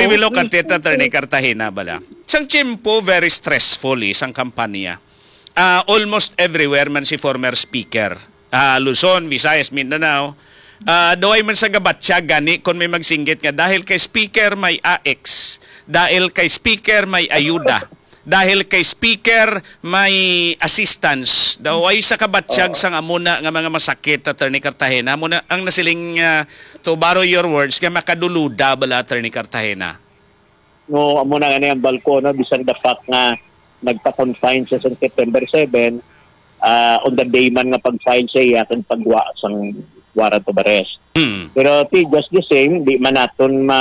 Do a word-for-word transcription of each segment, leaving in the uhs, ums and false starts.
We look at it, Attorney Cartagena, bala. Sang tiyempo, very stressful, eh, sang kampanya. Ah, almost everywhere man si former speaker. Ah, Luzon, Visayas, Mindanao. Ah, daw ay man sa gabatyag gani kung may magsinggit nga dahil kay speaker may A X, dahil kay speaker may ayuda, dahil kay speaker may assistance. Daw ay sa kabatyag Oo. sang amuna nga mga masakit, Attorney Cartagena. Amo na ang nasiling, ah, to borrow your words, nga makaduluda bala, Attorney Cartagena. No, amo na nga ang balko, no, bisan the fact nga nagpa-confine siya sa September seven, ah, on the day man nga pag-file sa iya kag pagwa sang warrant of arrest. Mm. Pero ti, just the same, di man naton ma,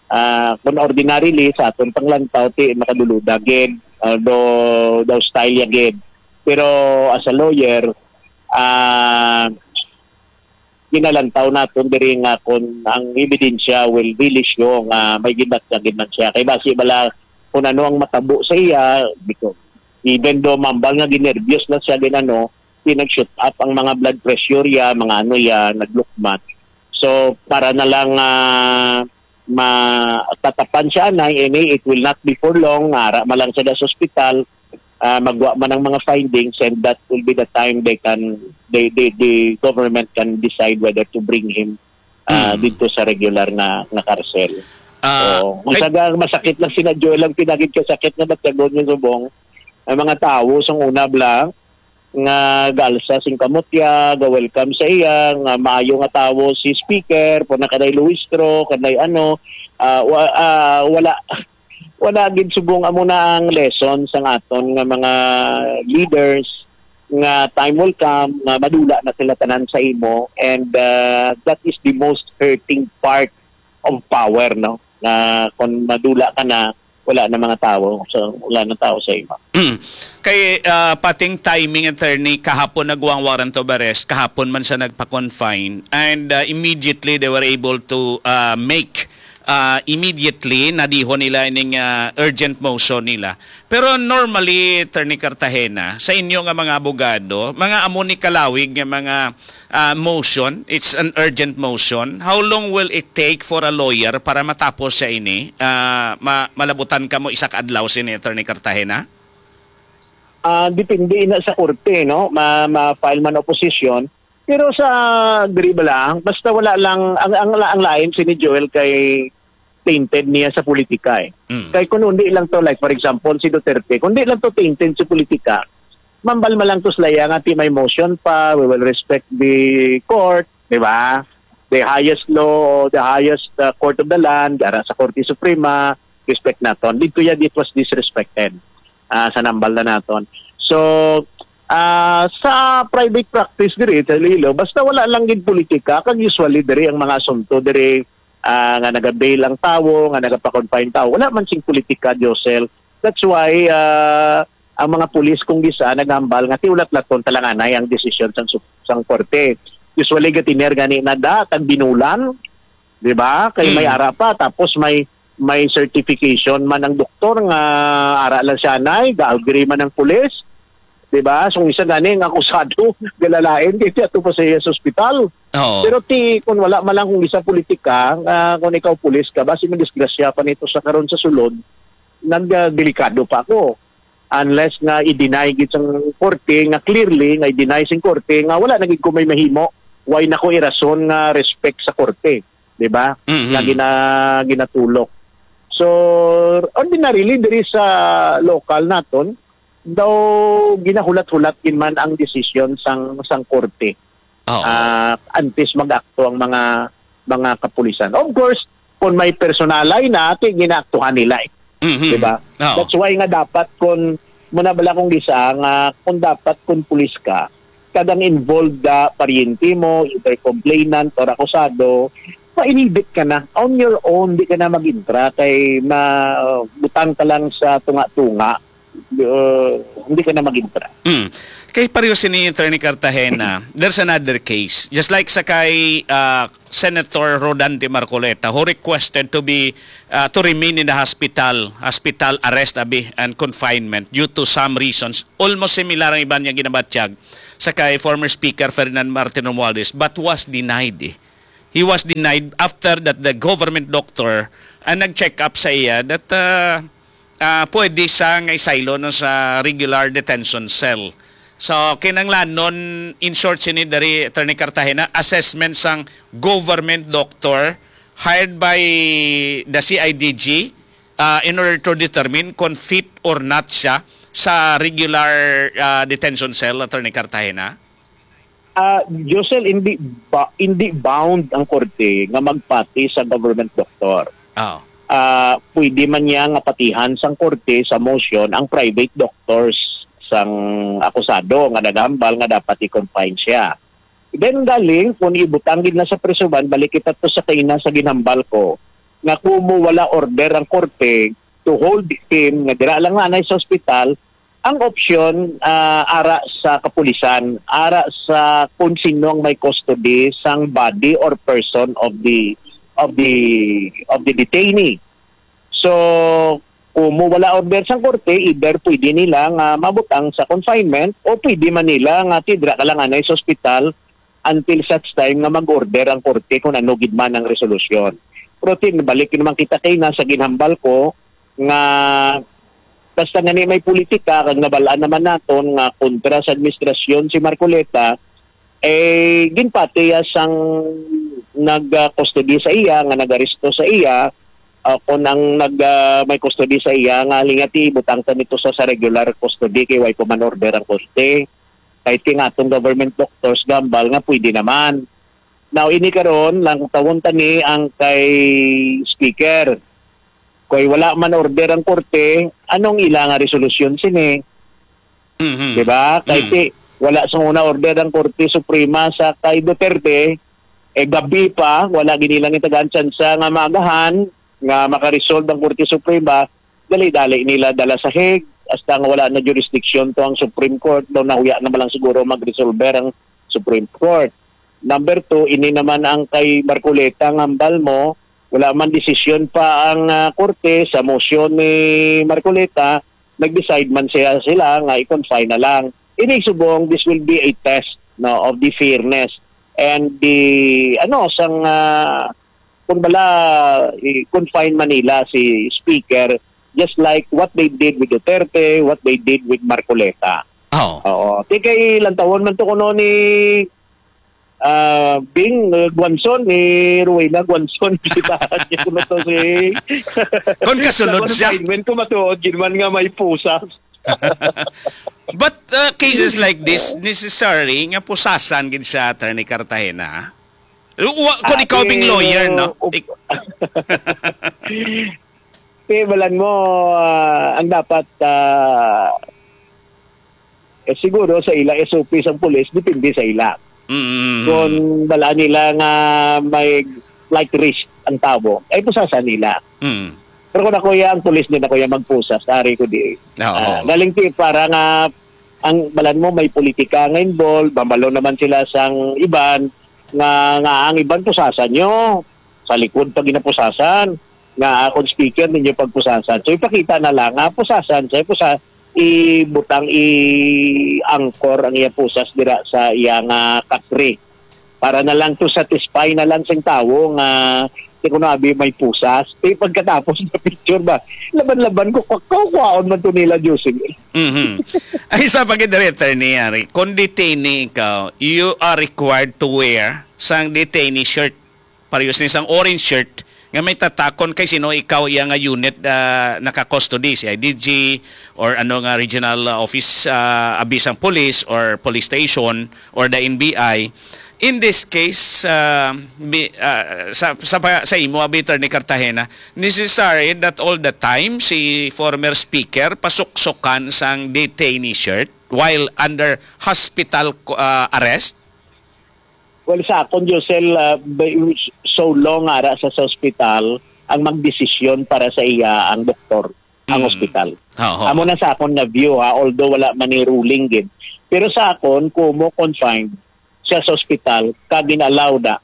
ah, kung ordinarily sa aton panglantaw, ti makaduluda gid, although daw style ya gid. Pero as a lawyer, ah, ginalantaw naton diri nga kung ang ebidensya will really show nga may gibatyagan man siya. Kay basi bala kung ano ang matabo sa iya, biko-, even though mambal nga ginerbyos na siya, ginano, di nag-shoot up ang mga blood pressure ya, mga ano ya, naglukmat. So, para na lang, ah, matatapan siya anay, ini, it will not be for long, ara man lang siya sa ospital, ah, magwa man ang mga findings, and that will be the time they can, they, they, the government can decide whether to bring him, ah, Mm. dito sa regular nga, nga karsel. Ah, So, kay- masaga, masakit lang sina Joel ang pinagid kasakit nga batyagon yung subong. Ang mga tawo, sang una bala, nga gaalsa sing kamot ya, ga-welcome sa iya, nga maayo nga tawo si speaker, po na kanay luistro, kanay ano, ah, wa-, ah, wala, wala gid subong amo na ang lesson sang aton nga mga leaders nga time will come nga madula na sila tanan sa imo, and, ah, that is the most hurting part of power, no? Nga kung madula ka na, wala na mga tawo. So, wala na tawo sa imo. Mm. Kay, ah, pating timing, attorney, kahapon nagwa ang warrant of arrest, kahapon man sa nagpa-confine, and, ah, immediately they were able to, ah, make, ah, immediately, nadihon nila ining, ah, urgent motion nila. Pero normally, Attorney Cartagena, sa inyo nga mga abogado, mga amo ni kalawig nga mga ah, motion, it's an urgent motion, how long will it take for a lawyer para matapos siya ini? Ah, ma-, malabutan kamo isa ka adlaw sini, Attorney Cartagena? Ah, depende na sa korte, no? Ma-, ma-file man opposition. Pero sa diri ba lang, basta wala lang, ang, ang, ang lain si ni Joel kay tainted niya sa politika, eh. Mm. Kay kung hindi lang to, like, for example, si Duterte, kung hindi lang to tainted sa politika, mambal man lang to sila nga ti may motion pa, we will respect the court, di ba? The highest law, the highest, uh, court of the land, ara sa Korte Suprema, respect naton. Dito yan, it was disrespected, ah, sa nambal na naton. So, ah, sa private practice diri sa Iloilo, basta wala lang gid politika, kag usually diri ang mga asunto diri, ah, nga naga-bail ang tawo, nga nagapa-confine tawo, wala man sing politika, Josel. That's why, ah, ang mga pulis kung gisa nagambal nga ti ulat-laton talanganay ang desisyon sang sup-, sang korte. Usually, gatiner gani na da, tag binulan, di ba? Kay may Mm. ara pa, tapos may, may certification man ang doktor nga ara lang siya anay, ga-agree man ang pulis, di ba? So, isa gani ang akusado, galalain, kay ato pa sa iya sa ospital. Oo. Pero ti, kung wala man lang kung isa politika, ah, kung ikaw pulis ka, basi madisgrasya pa nito sa karon sa sulod, nagdelikado pa ako. Unless nga i-deny gid sang korte, nga clearly nga i-deny sing korte nga wala na gid ko may mahimo, why na ko irason nga respect sa korte, di ba? Mhm. Nga gina-, ginatulok. So, ordinarily, diri sa lokal naton, daw ginahulat-hulat gid man ang desisyon sang, sang korte. Oo. Ah, antes mag-akto ang mga, mga kapulisan. Of course, kung may personalay na, ti ginaaktuhan nila, eh. Mhm. Di ba? Oo. That's why nga dapat kung, muna bala kung gisa, nga kung dapat kung pulis ka, kag ang involved da, paryente mo, either complainant or akusado, ma-inhibit ka na. On your own, di ka na mag-intra, kay ma-, butang ka lang sa tunga-tunga. Uh, hindi ka na mag-intra. Mm. Kay pareho sini, Attorney Cartagena, there's another case. Just like sa kay, ah, Senator Rodante Marcoleta, who requested to be, ah, to remain in the hospital, hospital arrest, abi, and confinement due to some reasons. Almost similar ang iban niyang ginabatyag sa kay former Speaker Ferdinand Martin Romualdez, but was denied, eh. He was denied after that the government doctor ang nag-check up sa iya that, ah, ah, pwede siya nga isaylo, no, sa regular detention cell. So, kinahanglanon, in short, sini diri, Attorney Cartagena, assessment sang government doctor hired by the C I D G, ah, in order to determine kung fit or not siya sa regular, ah, detention cell, Attorney Cartagena? Ah, Josel, hindi ba, hindi bound ang korte nga magpati sa government doctor. Ah. Ah, pwede man niya nga patihan sang korte sa motion ang private doctors sang akusado nga nagahambal nga dapat i-confine siya. Then galing, kung ibutang gid na sa prisoban, balik kita to sa kaina sa ginhambal ko, nga kumo wala order ang korte to hold him, nga dira lang nanay sa ospital, ang option, ah, ara sa kapulisan, ara sa kung sino ang may custody sang body or person of the, of the, of the detainee. So, kung mo wala order sang korte, either pwede nila nga mabutang sa confinement o pwede man nila nga tidra ka lang anay sa ospital until such time nga mag-order ang korte kung ano gid man ang resolusyon. Pero tin, balik naman kita kay na sa ginhambal ko nga basta nga ni may politika kag nabalaan naman naton nga kontra sa administrasyon si Marcoleta, eh, ginpati ya sang nag-custody sa iya, nga nag-aresto sa iya, ah, kung ang nag, ah, may custody sa iya, nga halin nga ti ibutang ta nito sa, sa regular custody kay way pa man order ang korte. Kahit kay nga atong government doctors, gambal nga pwede naman. Now, ini karon, lang tawon ta ni ang kay speaker. Kay wala man order ang korte, anong ila nga resolusyon sini? Mhm. Di ba? Kay Mm. ti, wala sa una order ang Korte Suprema sa kay Duterte, eh, gabi pa, wala gini lang itagaan tsansa nga maagahan nga makaresolve ang Korte Suprema, dali-dali nila dala sa Hague, hasta nga wala na jurisdiction to ang Supreme Court, daw nahuya na man lang siguro magresolver ang Supreme Court. Number two, ini naman ang kay Marcoleta nga hambal mo, wala man desisyon pa ang, ah, korte sa motion ni Marcoleta, nag-decide man siya sila nga i-confine na lang. Ini subong, this will be a test, no, of the fairness and the, ano, sang, ah, kung bala, i-confine man nila si Speaker, just like what they did with Duterte, what they did with Marcoleta. Oo. Oo. Ti kay lantawon man to kuno ni, ah, Bing, eh, Guanzon, ni Rowena Guanzon, kita niya kuno to si Kon kasunod sa siya. Confinement ko matuod, gid man nga may pusas. But, uh, cases like this, necessary nga pusasan gid siya, Attorney Cartagena. Wa, kung ikaw bing lawyer, no? Pero, Ik- Kay balan mo, ah, ang dapat, ah, eh, siguro sa ila S O P sang pulis, depende sa ila. Mm. Kung balaan nila nga may flight risk ang tawo, ay pusasan nila. Mm. Pero kung ako ya, ang pulis din ako ya magpusas, ari ko di. Oo. Ah, galing ti para nga ang balan mo may politika nga involved, bambalo naman sila sang iban, nga, nga ang iban pusasan nyo, sa likod pa ginapusasan, nga akong speaker ninyo pagpusasan. So ipakita na lang nga pusasan, sa pusa, ibutang, i-anchor ang iya pusas dira sa iya nga kasri. Para na lang to satisfy na lang sing tawo nga, "Ti kuno abi may pusas." Eh, pagkatapos na picture ba, laban-laban ko, kwa-, kwa-, kwaon man to nila, Joseph. Mhm. Ay, sa pagkidiri, Attorney Yari, kung detainee ikaw, you are required to wear sang detainee shirt. Parehas ni sang orange shirt nga may tatakon kay sino ikaw iya nga unit, ah, naka-custody, C I D G or ano nga regional, ah, office, ah, abi sang police or police station or the N B I. In this case, ah, bi-, ah, sa, sa, pa- sa imo, abi, Attorney Cartagena, necessary that all the time si former speaker pasuksukan sang detainee shirt while under hospital, ah, arrest? Well, sa akon, Josel, ah, by- so long ara sa, sa ospital ang magdesisyon para sa iya ang doktor, ang Mm. ospital. Oo. Amo na sa akon nga view, ha, although wala man ni ruling gid. Pero sa akon, kumo confined siya sa ospital, kag gin-allow na,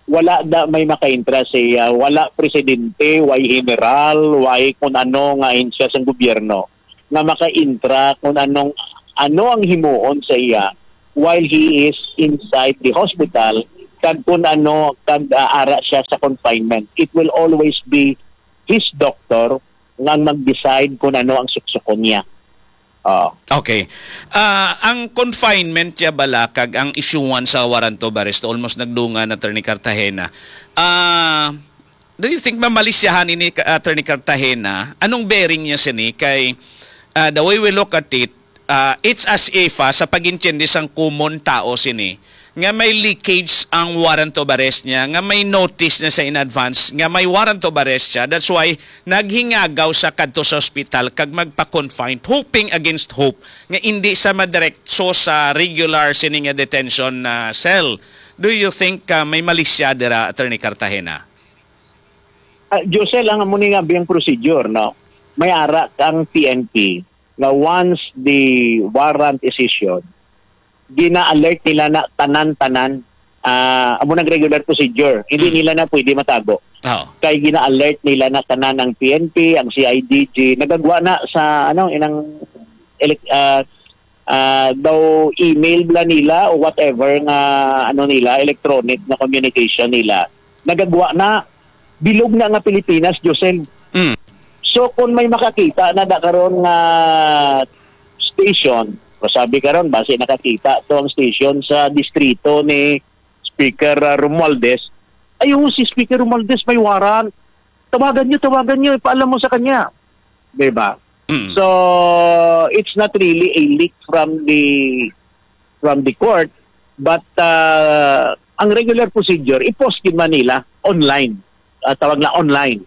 wala da may makaintra sa iya, wala presidente, way general, way kun ano nga ahensya sang gobyerno nga makaintra kun anong, ano ang himuon sa iya while he is inside the hospital kag kung ano, kag, ah, ara siya sa confinement. It will always be his doctor nga ang mag-decide kung ano ang suksukon niya. Oo. Okay. Ah, ang confinement niya bala kag ang issuance sa warrant of arrest, almost nagdungan, Attorney Cartagena. Ah, do you think mamalisyahan ini, Attorney Cartagena? Anong bearing niya sini? Kay, ah, the way we look at it, ah, it's as if, ah, sa pag-intindi sang common tao sini, nga may leakage ang warrant of arrest niya, nga may notice na sa in advance, nga may warrant of arrest siya. That's why naghingagaw siya kadto sa ospital kag magpa-confined, hoping against hope nga indi siya madiretso sa regular sini nga detention, ah, cell. Do you think, ah, may malisya dira, Attorney Cartagena? Ah, Josel, ang amo ni nga biyang procedure, no? May ara ang P N P nga once the warrant is issued, gina-alert nila na tanan-tanan. Ah, amo nang regular procedure. Hindi Mm. nila na pwede matago. Oo. Kay gina-alert nila na tanan ang P N P, ang C I D G, nagagwa na sa, ano, inang elec-, ah, ah, daw email bala nila o whatever nga, ano nila, electronic na communication nila. Nagagwa na, bilog na nga Pilipinas, Josel. Mm. So, kung may makakita na da karon nga station, masabi karon, basi nakakita to ang station sa distrito ni Speaker, ah, Romualdez, ay, oo, si Speaker Romualdez may warrant. Tawagan niyo, tawagan niyo, ipaalam mo sa kanya. Di ba? Mm. So, it's not really a leak from the, from the court, but, ah, ang regular procedure, i-post gid man nila online. Ah, tawag na online.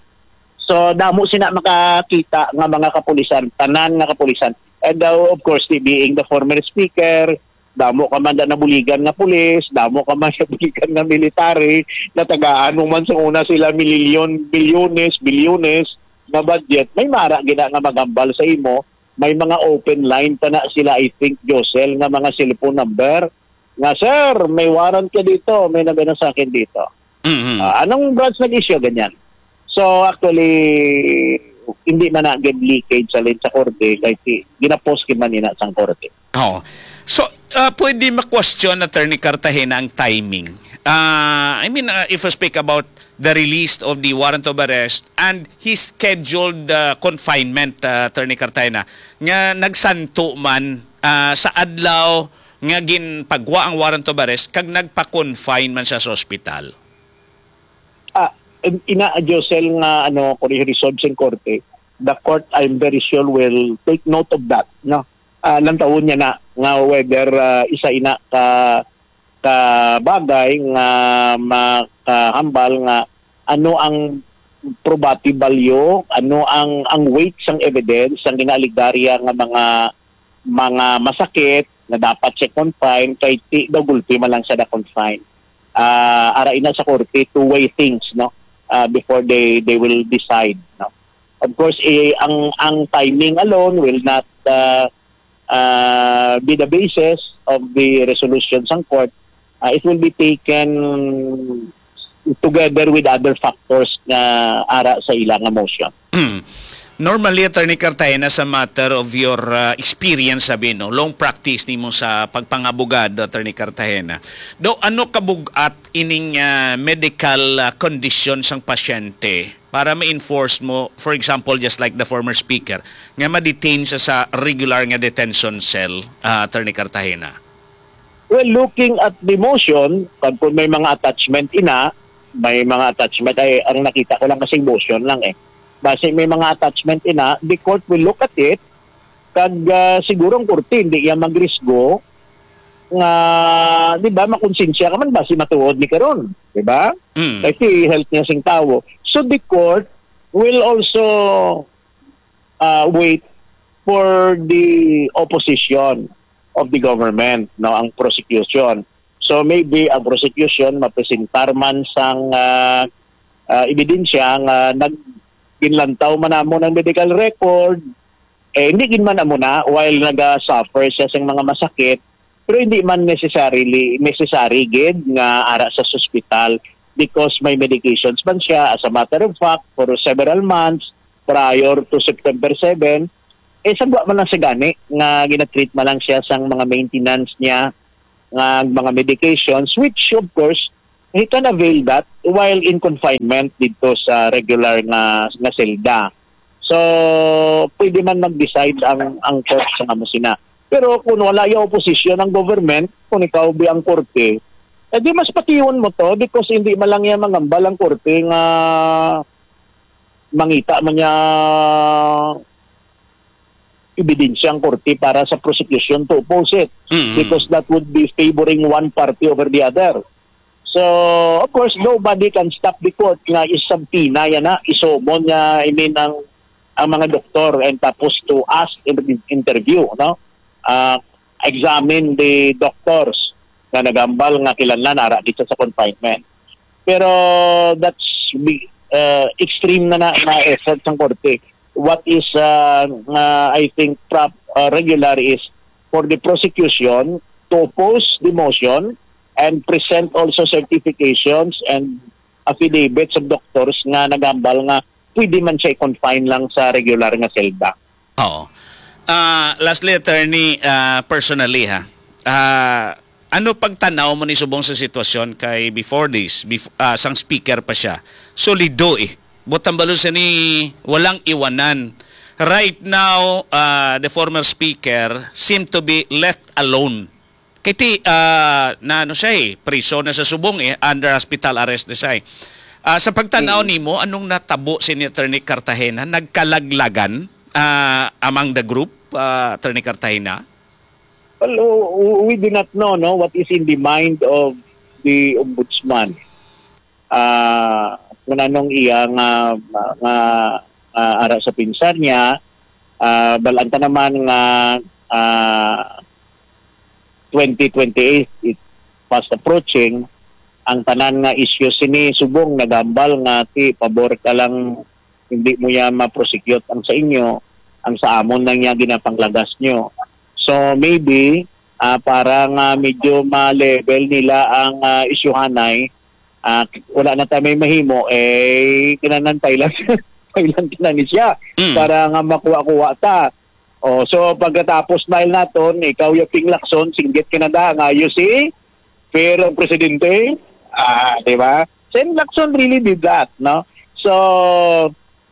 So, damo sina makakita nga mga kapulisan, tanan nga kapulisan. And, uh, of course, the, being the former speaker, damo ka man da nabuligan nga pulis, damo ka man nabuligan nga military, natagaan mo man sa una sila milyon, milyones, bilyones na budget, may mara gina nga magambal sa imo, may mga open line pa na sila, I think, Josel, nga mga cellphone number, nga, "Sir, may warrant ka dito, may nagano sa akin dito." Mhm. Ah, anong branch nag-issue, ganyan? So, actually, hindi man na gid leakage sa lin sa korte, kay si, ginapost gid man ina sang korte. Oo. So, ah, pwede ma-question, Attorney Cartagena, ang timing. Ah, I mean, ah, if we speak about the release of the warrant of arrest and his scheduled, ah, confinement, ah, Attorney Cartagena, nga nagsanto man, ah, sa adlaw nga ginpagwa ang warrant of arrest kag nagpa-confine man siya sa ospital. Ah, in-, ina, Josel, nga, ano, kung i-resolve sing korte, the court, I'm very sure, will take note of that, no? Ah, lantawon niya na nga whether, ah, isa ina ka, ka bagay nga makahambal nga ano ang probative value, ano ang, ang weight sang evidence, ang ginaaligarya nga mga, mga masakit na dapat siya confine, kay ti daw gulpi man lang siya na confine. Ah, ara ina sa korte to weigh things, no? Ah, before they, they will decide, no? Of course, eh, ang, ang timing alone will not, ah, ah, be the basis of the resolution sang court. Ah, it will be taken together with other factors nga ara sa ila nga motion. Hmm. Normally, Attorney Cartagena, sa matter of your, ah, experience, sabi, no, long practice nimo sa pagpangabogado, Attorney Cartagena, do ano kabug-at ining, ah, medical, ah, condition sang pasyente para ma-enforce mo, for example, just like the former speaker, nga ma-detain siya sa regular nga detention cell, ah, Attorney Cartagena? Well, looking at the motion, pag kung may mga attachment ina, may mga attachment, ay, ang nakita ko lang kasing motion lang eh. Basi may mga attachment ina, the court will look at it, kag, ah, siguro ang korte, hindi iya magrisgo nga, di ba, makonsensya ka man, basi matuod ni karon, di ba? Mm. Kasi health niya sing tawo. So the court will also, ah, wait for the opposition of the government, no, ang prosecution. So maybe ang prosecution mapresentar man sang, ah, ah, ebidensya nga nag-, ginlantaw man namo ng medical record, eh, hindi gid man amo na, while naga-suffer siya sa mga masakit, pero hindi man necessarily, necessary gid nga ara sa ospital because may medications man siya. As a matter of fact, for several months prior to September seven, eh, sagwa man lang siya gani nga ginatreat man lang siya sang mga maintenance niya nga mga medications, which of course he can avail that while in confinement dito sa regular nga, nga selda. So, pwede man mag-decide ang, ang court sa nga mo sina. Pero kung wala yung opposition ang government, kung ikaw bi ang korte, eh di mas patihon mo to because hindi man lang yan mangambal ang korte nga mangita man niya ebidensya ang korte para sa prosecution to oppose it, mm-hmm, because that would be favoring one party over the other. So, of course, nobody can stop the court nga isubpoena yan na, isumon nga, I mean, ang, ang mga doktor and tapos to ask in interview, no? Ah, examine the doctors na nagambal nga kinahanglan ara dito sa confinement. Pero that's big, uh, extreme na na, na effort sang korte. What is, uh, uh, I think, prop, uh, regular is for the prosecution to oppose the motion and present also certifications and affidavits of doctors nga nagambal nga pwede man siya i-confine lang sa regular nga selda. Oo. Ah, lastly, attorney, ah, personally ha, ah, ano pagtanaw mo ni subong sa sitwasyon kay before this, bef- ah, sang speaker pa siya, solido eh. Butang balon siya ni walang iwanan. Right now, ah, the former speaker seem to be left alone. Kay ti, ah, na ano siya eh, priso na sa subong eh, under hospital arrest na siya eh. Ah, sa pagtanaw nimo, anong natabo si ni Attorney Cartagena? Nagkalaglagan, ah, among the group, ah, Attorney Cartagena? Well, w- w- we do not know, no, what is in the mind of the ombudsman. Ah, kung anong iya nga, nga, ah, ara sa pinsar niya, ah, bal-an ta naman nga, ah, twenty twenty-eight is fast approaching, ang tanan nga issues sini subong nagambal nga ti pabor ka lang hindi mo ya ma-prosecute ang sa inyo, ang sa amon lang ya ginapanglagas nyo. So maybe, ah, para nga medyo ma-level nila ang, ah, isyuhanay, ah, wala na tayo may mahimo, eh, kinanan pailan, pailan ka na ni siya Mm. para nga makuha-kuha ta. Oh, so pagkatapos mail naton, ikaw yung Ping Lacson, singgit ka na da, nga you see, fair ang presidente, ah, di ba? Sen Lacson really did that, no? So,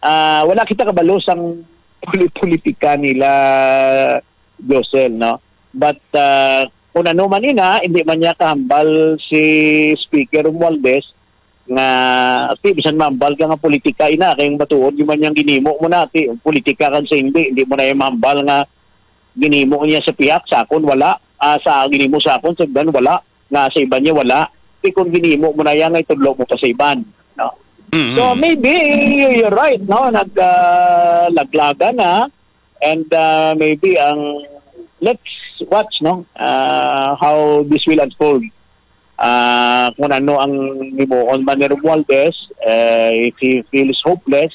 ah, wala kita kabalo sang poli-, politika nila, Josel, no? But, ah, kung ano man ina, hindi man niya kahambal si Speaker Romualdez nga, ti, bisan mahambal ka nga politika ina, kay matuod di man niyang ginimo mo na, ti, politika kan sa hindi, hindi mo na yung mahambal nga ginimo niya sa pihak sa akon, wala. Ah, sa ginimo sa akon, sa iban, wala. Nga sa iban niya, wala. Ti, kung ginimo mo na yan, ay tudlo mo pa sa iban, no? Mm-hmm. So, maybe, you're right, no? Nag, ah, laglagan na. And, ah, maybe ang, let's watch, no? Ah, how this will unfold. Ah, kung ano ang himuon man ni Romualdez, eh, if he feels hopeless,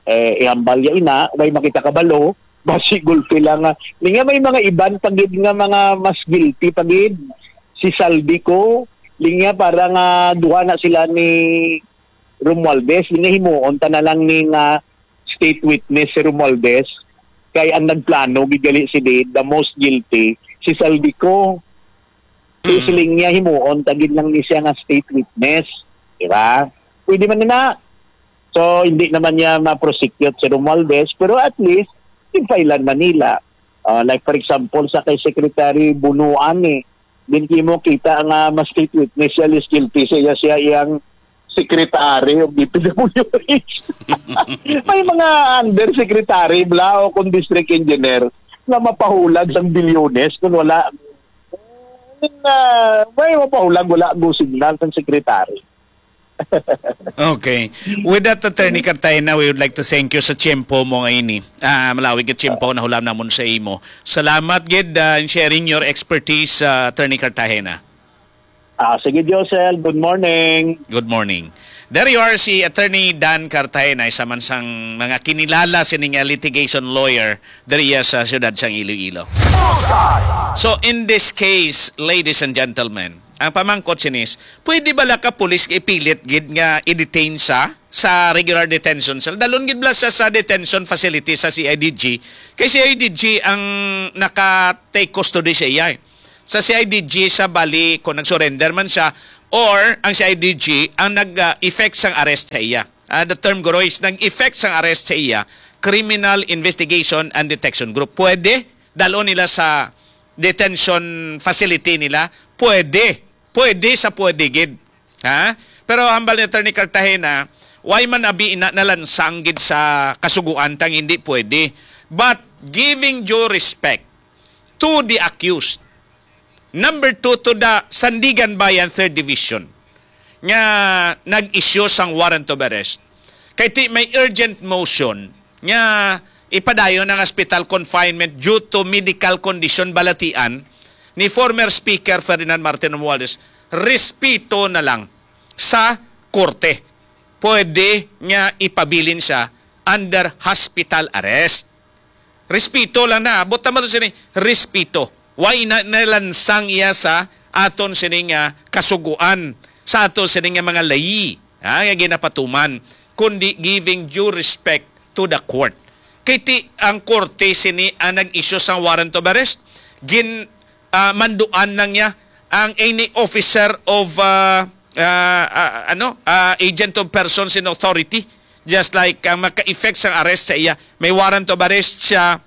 eh, ihambal niya ina, may makita kabalo, basi gulpi lang nga. Linya may mga iban pa gid nga mga mas guilty pa gid. Si Saldico, linya para nga duha na sila ni Romualdez, linya himuon ta na lang ni nga state witness si Romualdez, kay ang nagplano gid gali si Dade, the most guilty, si Saldico. So, Mm. siling niya, himuon ta gid lang ni siya nga state witness. Di ba? Pwede man na. So, hindi naman niya ma-prosecute si Romualdez, pero at least, ginfailan man nila. Ah, like, for example, sa kay Secretary Bunuan, eh, din mo kita nga mas state witness siya, less guilty siya, siya iyang secretary of D P W H. May mga undersecretary, bla, o kung district engineer, nga mapahulag sang bilyones kung wala, ah, may mapahulag, wala go signal sang secretary. Okay. With that, Attorney Cartagena, we would like to thank you sa tiyempo mo nga ini. Ah, malawig nga tiyempo na hulam namon sa imo. Salamat gid, ah, in sharing your expertise, ah, Attorney Cartagena. Ah, sige, Josel. Good morning. Good morning. There you are, si Attorney Dan Cartagena, isa man sang mga kinilala sining nga litigation lawyer diri sa siyudad sang Iloilo. Bullseye! So, in this case, ladies and gentlemen, ang pamangkot sinis, pwede bala ka pulis nga ipilit gid nga i-detain sa sa regular detention cell? Dalon gid bala sa, sa detention facility sa C I D G. Kay C I D G ang naka-take custody sa iya, eh. Sa C I D G siya bali kung nag-surrender man siya, or ang C I D G ang nag-effect sang arrest sa iya. Ah, the term guro is nag-effect sang arrest sa iya, Criminal Investigation and Detection Group. Pwede dalon nila sa detention facility nila. Pwede. Pwede sa pwede gid. Ha? Pero hambal ni Attorney Cartagena, why man abi ina nalansang gid sa kasuguan tang hindi pwede. But giving due respect to the accused, number two, to the Sandiganbayan Third Division nga nag-issue sang warrant of arrest. Kay ti may urgent motion nga ipadayon ang hospital confinement due to medical condition balatian ni former Speaker Ferdinand Martin Romualdez, respeto na lang sa korte. Pwede nga ipabilin siya under hospital arrest. Respeto lang na. Buot silingon sini, respeto. Why na nalansang iya sa aton sini nga kasuguan, sa aton sini nga mga layi, ha, nga ginapatuman, kundi giving due respect to the court. Kay ti ang korte sini ang nag-issue sang warrant of arrest, gin ah, manduan lang niya ang any officer of, ah, ah, ah, ano, ah, agent of persons in authority, just like ang maka-effect sang arrest sa iya. May warrant of arrest siya,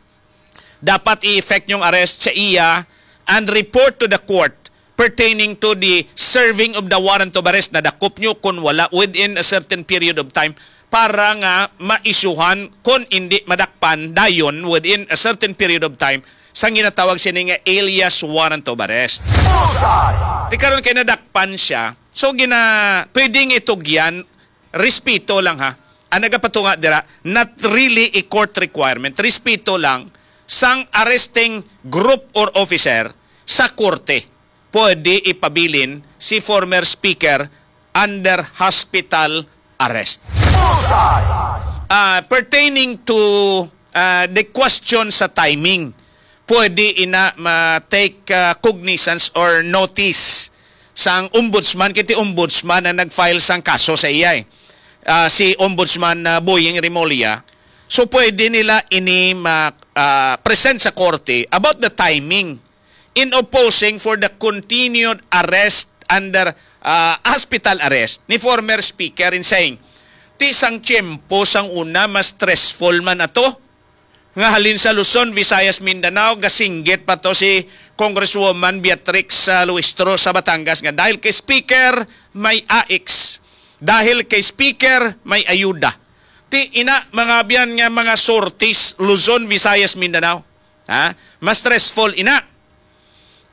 dapat i-effect yung arrest sa iya and report to the court pertaining to the serving of the warrant of arrest. Nadakop nyo kung wala within a certain period of time para nga maisyuhan, kung hindi madakpan dayon within a certain period of time, sang ginatawag sini nga alias warrant of arrest. Bullseye! Ti karon kay nadakpan siya, so gina pwedeng itugyan, respeto lang ha. Ang nagapatunga dira, not really a court requirement. Respeto lang sang arresting group or officer sa korte. Pwede ipabilin si former speaker under hospital arrest. Bullseye! Ah, pertaining to, ah, the question sa timing, pwede ina ma-take, ah, cognizance or notice sang ombudsman, kay ti ombudsman ang nag-file sang kaso sa iya, eh. Ah, si Ombudsman, ah, Boying Remulla. So, pwede nila ini ma-, ah, present sa korte about the timing in opposing for the continued arrest under, ah, hospital arrest ni former speaker in saying, ti sang tiyempo sang una mas stressful man ato, nga halin sa Luzon, Visayas, Mindanao, gasinggit pa to si Congresswoman Beatrix, ah, Luistro sa Batangas nga dahil kay speaker may A I C S, dahil kay speaker may ayuda. Ti ina, mga abyan, nga mga sorties, Luzon, Visayas, Mindanao. Ha? Mas stressful ina.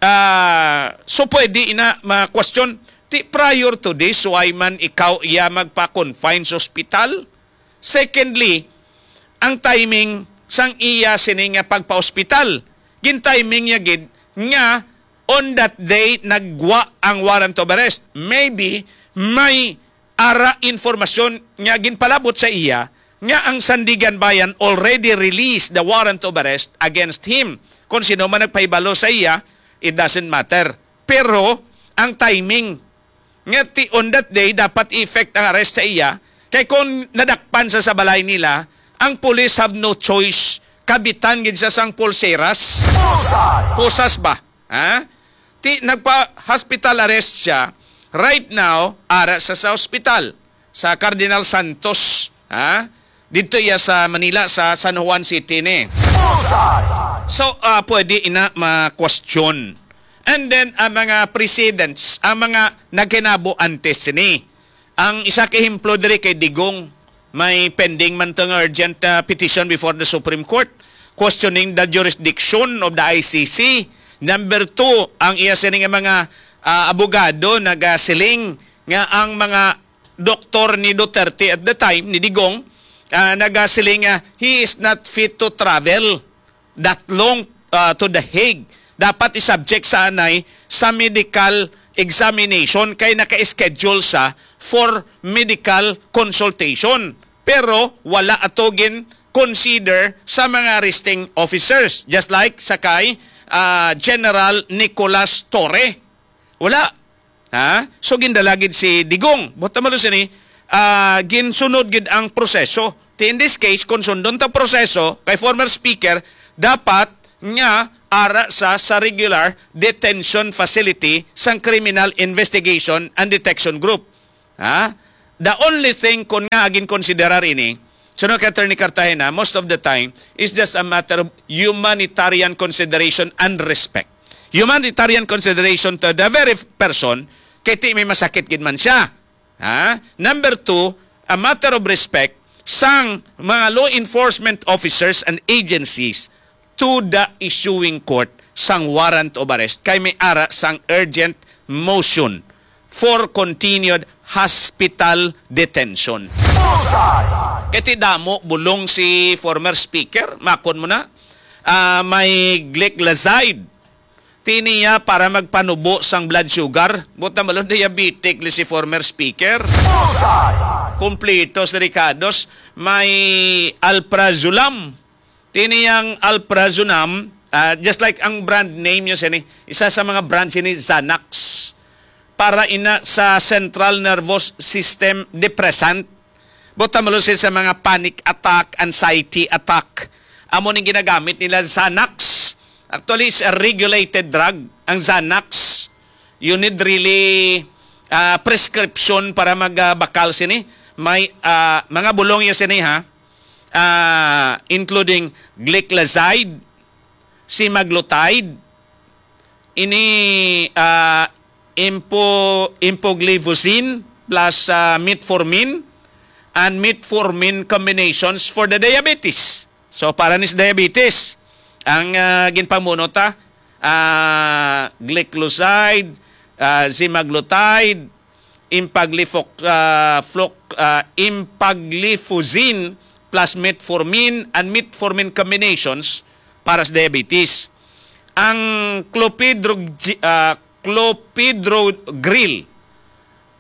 Ah, so pwede ina ma-question, ti prior to this, why man ikaw iya magpa-confine sa ospital? Secondly, ang timing sang iya sini nga pagpa-ospital, gin-timing niya gid nga on that day naggwa ang warrant of arrest. Maybe may ara informasyon nga ginpalabot sa iya nga ang Sandiganbayan already released the warrant of arrest against him. Kung sino man nagpahibalo sa iya, it doesn't matter. Pero ang timing nga ti on that day dapat i-effect ang arrest sa iya, kay kung nadakpan sa, sa balay nila, ang police have no choice. Kabitan gid siya sang pulseras. Bullseye! Pusas ba? Ha? Ti nagpa-hospital arrest siya. Right now, ara sa, sa hospital sa Cardinal Santos, ha? Dito iya sa Manila, sa San Juan City ni. Bullseye! So, ah, pwede ina ma-question. And then, ang mga precedents, ang mga nagkinabo antes ni. Ang isa ka ehemplo diri kay Digong, may pending man to nga urgent, ah, petition before the Supreme Court questioning the jurisdiction of the I C C. Number two, ang iya sini nga mga, ah, abogado nagasiling nga ang mga doktor ni Duterte at the time, ni Digong, ah, nagasiling nga he is not fit to travel that long, ah, to The Hague. Dapat i-subject sa anay sa medical examination kay naka-schedule sa for medical consultation. Pero wala ato gin consider sa mga arresting officers, just like sa kay, ah, General Nicolas Torre. Wala. Ha? So, gindala gid si Digong. Buot silingon sini, ah, ginsunod gid ang proseso. Ti in this case, kung sundon ta proseso kay former speaker, dapat nga ara sa, sa regular detention facility sang Criminal Investigation and Detection Group. Ha? The only thing kon nga ginkonsiderar ini, sunod kay Attorney Cartagena, most of the time, is just a matter of humanitarian consideration and respect. Humanitarian consideration to the very person, kay ti may masakit gid man siya. Ha? Number two, a matter of respect sang mga law enforcement officers and agencies to the issuing court sang warrant of arrest kay may ara sang urgent motion for continued hospital detention. Bullseye! Kay ti damo bulong si former speaker, makon mo na, ah, may gliclazide. Ti niya para magpanubo sang blood sugar. Buot na balon, diabetic li si former speaker. Bullseye! Kumplito sa rekados, may alprazolam. Ti niyang alprazolam, ah, just like ang brand name niya sini, isa sa mga brand sini, Xanax. Para ina sa central nervous system depressant. Buot na balon sini sa mga panic attack, anxiety attack. Amo ning ginagamit nila, Xanax. Actually, it's a regulated drug, ang Xanax. You need really, ah, prescription para magbakal sini. May, ah, mga bulong ya sini, ha. Ah, including gliclazide, semaglutide, ini, ah, empo-, empagliflozin plus, ah, metformin and metformin combinations for the diabetes. So, para ni sa diabetes, ang, ah, ginpamuno ta, ah, gliclazide, ah, semaglutide, empaglifo-, ah, floc-, ah, empagliflozin plus metformin and metformin combinations para sa diabetes. Ang clopidrog-, ah, clopidogrel,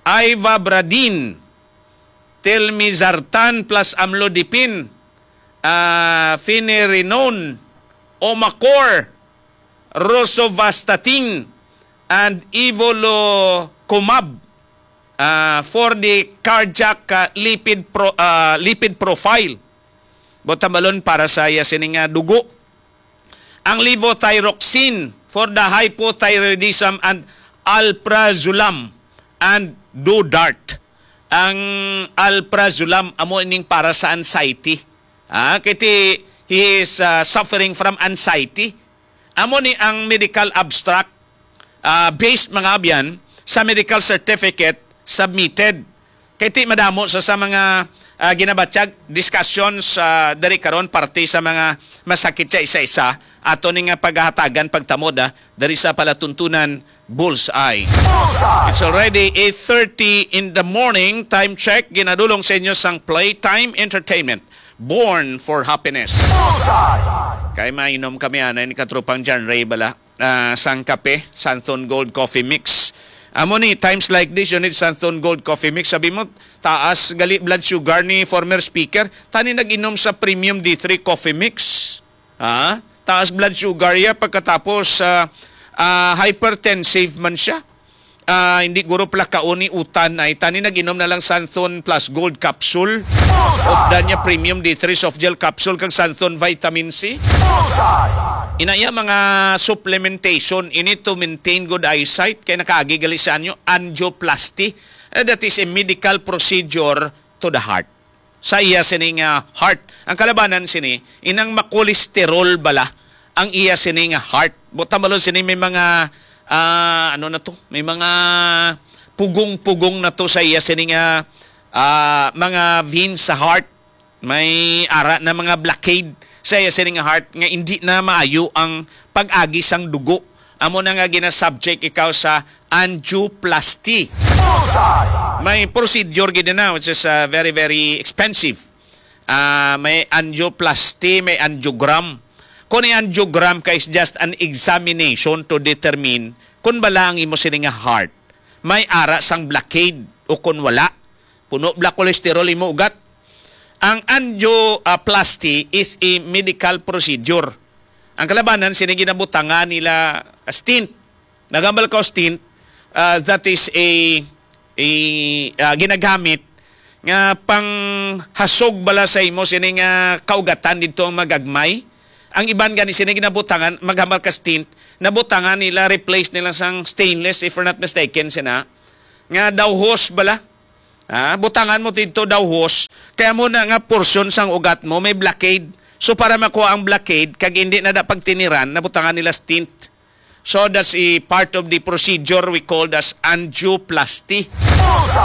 ivabradine, telmisartan plus amlodipine, ah, finerenone, Omacor, rosuvastatin, and evolocumab, ah, for the cardiac, ah, lipid pro-, ah, lipid profile. Buot na balon para sa iya sini nga dugo. Ang levothyroxine for the hypothyroidism and alprazolam and Dodart. Ang alprazolam amo ining para sa anxiety. Ah, kay ti, he is, ah, suffering from anxiety. Amo ni ang medical abstract, ah, based, mga abyan, sa medical certificate submitted. Kay ti madamo sa, sa mga, ah, ginabatyag, discussions, ah, diri karon, parte sa mga masakit sa isa-isa, ato ni nga paghahatagan pagtamod, ah, diri sa palatuntunan Bullseye. Bullseye! It's already eight thirty in the morning. Time check, ginadulong sa inyo sang Playtime Entertainment. Born for happiness. Bullseye! Kay mainom kami anay ni katropang John Ray bala, ah, sang kape, Santhon Gold Coffee Mix. Amo ni, times like this, you need Santhon Gold Coffee Mix. Sabi mo, taas gali blood sugar ni former speaker. Tani nag-inom sa Premium D three Coffee Mix. Ha? Taas blood sugar ya, pagkatapos, ah, ah, hypertensive man siya. Ah, hindi guro pala kaon ni utan ay tani nag-inom na lang Santhon Plus Gold Capsule. Bullseye! Updan niya Premium D three Soft Gel Capsule kag Santhon Vitamin C. Bullseye! Inaya mga supplementation ini to maintain good eyesight kay nakaagi gali sa anyo angioplasty. Eh, that is a medical procedure to the heart. Sa iya sini nga heart. Ang kalabanan sini, inang makolesterol bala ang iya sini nga heart. Buot na balon sini may mga, ah, ano na to? May mga pugong-pugong na to sa iya sini nga, ah, mga veins sa heart. May ara na mga blockade sa iya sini nga heart nga hindi na maayo ang pag-agi sang dugo. Amo na nga gina-subject ikaw sa angioplasty. Bullseye! May procedure gid na, which is, uh, very, very expensive. Ah, may angioplasty, may angiogram. Kung ang angiogram ka is just an examination to determine kung bala ang imo sini nga heart may ara sang blockade o kung wala. Puno bala cholesterol imo ugat. Ang angioplasty is a medical procedure. Ang kalabanan, sini ginabutangan nila stent. Nagambal ka og stent, ah, that is a, a, ah, ginagamit nga panghasog bala sa imo sini nga kaugatan didto ang magagmay. Ang iban gani sini ginabutangan, maghambal ka stint, nabutangan nila, replace nila sang stainless, if we're not mistaken, sina, nga dawhos bala. Ha? Butangan mo dito dawhos, kaya mo na nga portion sang ugat mo may blockade. So, para makuha ang blockade, kag hindi na da pagtiniran, nabutangan nila stint. So, that's a part of the procedure we called as angioplasty.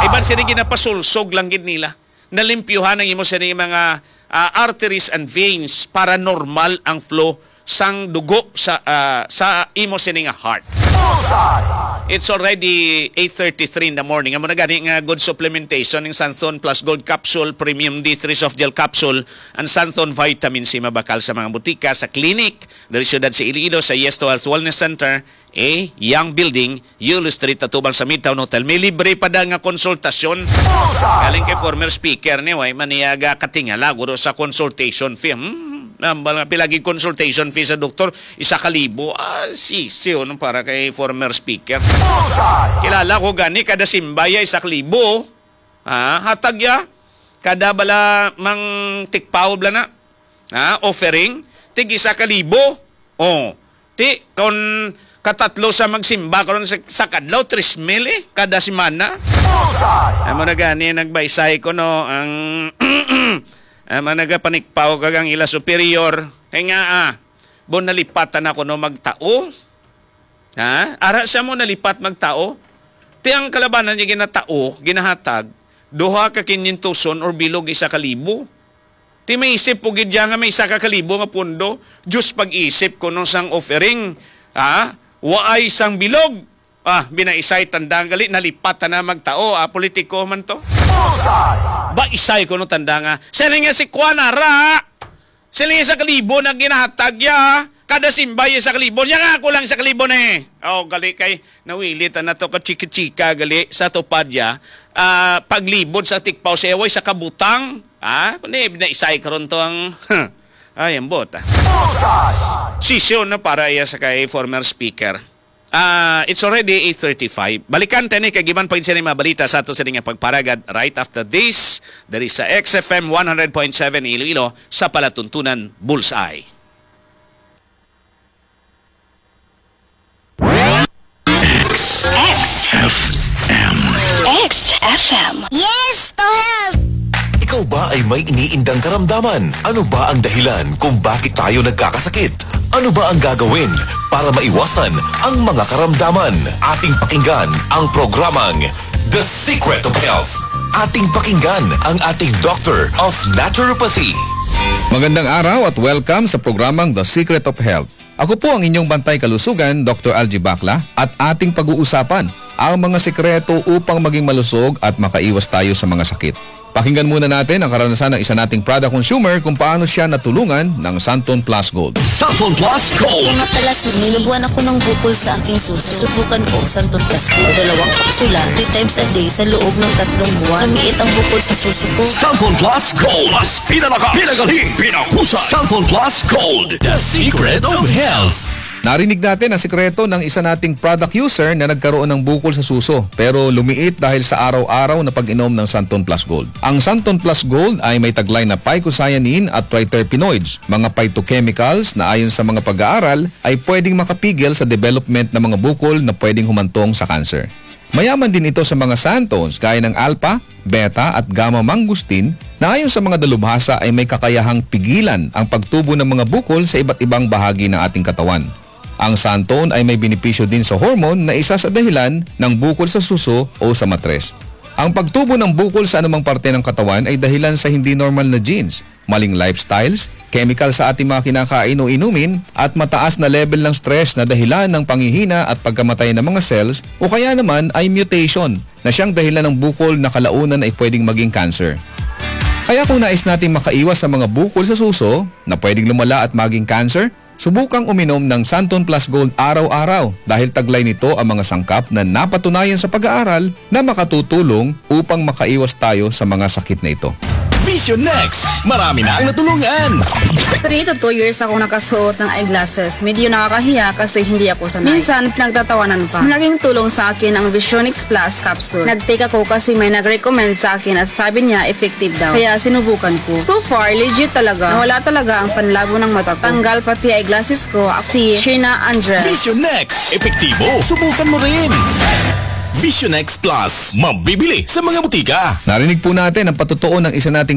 Iban sini ginapasulsog lang gid nila. Nalimpyuhan ang imo sini mga, ah, arteries and veins para normal ang flow sang dugo sa, ah, sa imo sini nga heart. It's already eight thirty-three in the morning. Amo na gani nga good supplementation ning Santon Plus Gold Capsule, Premium D three Soft Gel Capsule, and Santon Vitamin C, mabakal sa mga butika, sa clinic, diri siyudad sa Iloilo, sa Yes to Health Wellness Center, A, Young Building, Yulo Street, atubang sa Midtown Hotel. May libre pa da nga konsultasyon. Galing kay former speaker ni, way man niya ga katingala, guro, sa consultation fee. Hmm, nambal nga pila gid consultation fee sa doktor, isa ka libo. Ah, si, si, ano, para kay former speaker. Kilala ko gani, kada simba ya, isa ka libo. Ah, hatag ya. Kada bala mang tikpaw bala na. Ha, offering, tig isa ka libo. Oh, ti, kon katatlo sa magsimba karon sa, sa kadlaw, tres mil eh, kada semana. Amo na gani, nagbaisay ko, no, ang, ang mga nagapanikpaw kag ang ila superior. Kay nga, ah, bon, nalipatan ako, no, magtao. Ha? Ara siya mo nalipat magtao. Ti ang kalabanan niya ginatao, ginahatag, duha ka kinyentoson or bilog isa ka libo. Ti maisip po gid siya nga may isa ka kalibo nga pundo. Diyos, pag-isip ko nung sang offering, ha? Waay sang bilog. Ah, binaisay tandang gali, nalipat na magtao. Ah, politiko man to. Ba, isay ko no tanda nga. Siling nga si Kwan, ara! Siling nga sa kalibo na ginahatag ya. Kada simba ya sa kalibo. Niya nga ako lang sa kalibo ni. Oh, gali kay nawilit na to ka chika-chika gali sa tupad ya. Ah, paglibot sa tikpaw sa way sa kabutang. Ah, kundi naisay karon to ang, ay, ang bota. Sisyon na para iya sa kay former speaker. Ah, it's already eight thirty-five. Balikan tani kay giban pa gid sini mga balita sa ato sini nga pagparagad right after this. Diri sa X F M one hundred point seven Iloilo, sa palatuntunan Bullseye. X F M. X F M. Yes to health! Ikaw ba ay may iniindang karamdaman? Ano ba ang dahilan kung bakit tayo nagkakasakit? Ano ba ang gagawin para maiwasan ang mga karamdaman? Ating pakinggan ang programang The Secret of Health. Ating pakinggan ang ating Doctor of Naturopathy. Magandang araw at welcome sa programang The Secret of Health. Ako po ang inyong bantay kalusugan, Doctor Algie Bacla, at ating pag-uusapan ang mga sekreto upang maging malusog at makaiwas tayo sa mga sakit. Pakinggan muna natin ang karanasan ng isa nating product consumer kung paano siya natulungan ng Santon Plus Gold. Santon Plus Gold. Nga pala, sir, may nabuan ako ng bukol sa aking suso. Subukan ko ang Santon Plus Gold. Dalawang kapsula, three times a day sa loob ng tatlong buwan. Lumiit ang bukol sa suso ko. Santon Plus Gold. Mas pinalakas, pinagaling, pinahusay. Santon Plus Gold. The secret of health. Narinig natin ang sikreto ng isa nating product user na nagkaroon ng bukol sa suso, pero lumiit dahil sa araw-araw na pag-inom ng Santon Plus Gold. Ang Santon Plus Gold ay may taglay na phycocyanin at triterpenoids, mga phytochemicals na ayon sa mga pag-aaral ay pwedeng makapigil sa development ng mga bukol na pwedeng humantong sa cancer. Mayaman din ito sa mga xanthones gaya ng alpha, beta at gamma mangosteen na ayon sa mga dalubhasa ay may kakayahang pigilan ang pagtubo ng mga bukol sa iba't ibang bahagi ng ating katawan. Ang xanthone ay may benepisyo din sa hormone na isa sa dahilan ng bukol sa suso o sa matres. Ang pagtubo ng bukol sa anumang parte ng katawan ay dahilan sa hindi normal na genes, maling lifestyles, chemical sa ating mga kinakain o inumin, at mataas na level ng stress na dahilan ng panghihina at pagkamatay ng mga cells, o kaya naman ay mutation na siyang dahilan ng bukol na kalaunan ay pwedeng maging cancer. Kaya kung nais nating makaiwas sa mga bukol sa suso na pwedeng lumala at maging cancer, subukang uminom ng Santon Plus Gold araw-araw dahil taglay nito ang mga sangkap na napatunayan sa pag-aaral na makatutulong upang makaiwas tayo sa mga sakit na ito. Vision X. Marami na ang natulungan. Three to two years akong nakasuot ng eyeglasses. Medyo nakakahiya kasi hindi ako sanay. Minsan, pinagtatawanan pa. Malaking tulong sa akin ang Visionix Plus capsule. Nag-take ako kasi may nag-recommend sa akin at sabi niya effective daw. Kaya sinubukan ko. So far, legit talaga. Nawala talaga ang panlabo ng mata ko. Tanggal pati eyeglasses ko. Si Sheena Andres. Vision X. Epektibo. Subukan mo rin. Vision X Plus. Mabibili sa mga butika. Narinig po natin ang patotoo ng isa nating